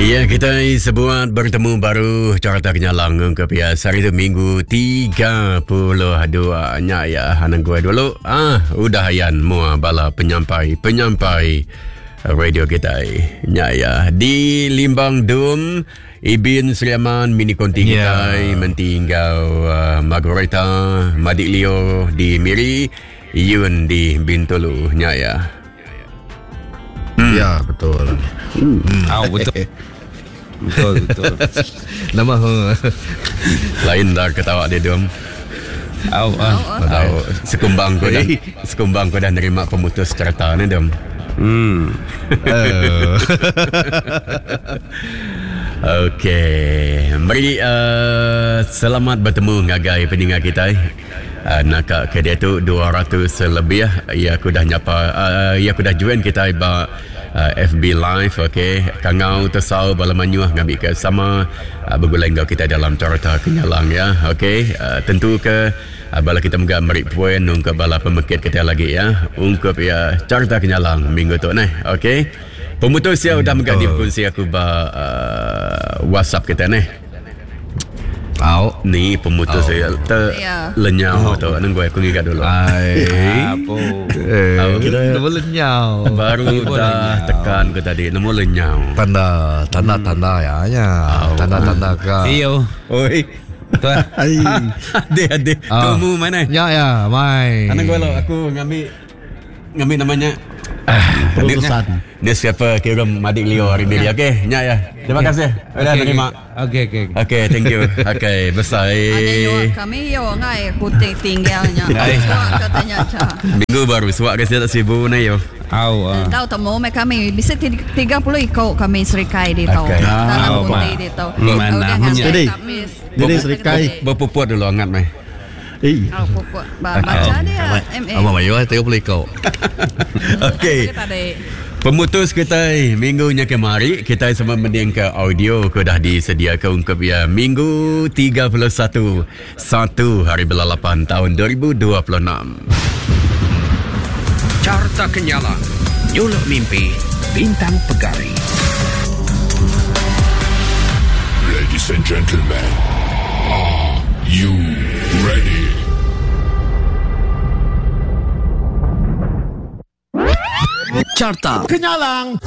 Ya, kita sebuat bertemu baru carta kenyalang ke pia sehari tu minggu 32 nya ya anang gue dulu ah udah ayan mua bala penyampai penyampai radio kita nya ya di Limbang Dum Ibin Sri Aman mini konti yeah. kita menti enggau uh, Margareta Madik Leo di Miri Yun di Bintulu nya ya. Hmm. Ya betul. Hmm. Ah betul. Betul betul. Nama lain dah ketawa dia dom. Au ah. Au sekumbang ko dah sekumbang ko dah nerima pemutus cerita ni dom. Hmm. Okey, meri uh, selamat bertemu ngagai peninga kita. Uh, naka ke diatu 200 lebih ya aku dah nyapa uh, ya aku dah join kita ba uh, FB live okey kangau tesau bala manyuh ngambi ke sama uh, begulai enggau kita dalam carta kenyalang ya okey uh, tentu ke uh, bala kita mega meri poin ungkup bala pemekit kita lagi ya ungkup ya carta kenyalang minggu tu neh okey pemutus ya udah mega dikongsi aku ba uh, WhatsApp kita neh. Au. Ni pemutus saya te Ya. lenyau tu. Nang gue aku ngiga dulu. Ai. Apo. Eh, Au. nama lenyau. Baru dah tekan ke tadi nemu lenyau. Tanda, tanda, tanda ya, ya. Tanda, tanda ke. Iyo. Oi. Tu. Ai. Ade ade. Ah. Tumu mana? Ya ya, mai. Anang gue lo aku ngambil ngambil namanya Perutusan. Dia siapa kira Madik Leo hari ni. Okey, nyak ya. Terima kasih. Udah Okey, terima. Okey okey. Okey, thank you. Okey, besar. Ada yo kami yo ngai kuting tinggalnya. Suak katanya cha. Minggu baru suak ke tak sibuk ni yo. Au ah. Tahu temu me kami bisa 30 ikut kami serikai di tau. Okey. Dalam Ah, kunti di tau. Mana punya. Jadi, jadi serikai. Berpuput dulu angat mai. Eh, Oh, pupuk. Ba baca dia MA. Abang Mayu eh, 30 ikut. Okey. Tadi. Pemutus kita minggunya kemari kita sama mending ke audio ke dah disediakan untuk ya minggu 31 1 hari bulan 8 tahun 2026. Carta Kenyalang. Nyuluk mimpi, bintang pegari. Ladies and gentlemen, are you ready? Carta kenyalang.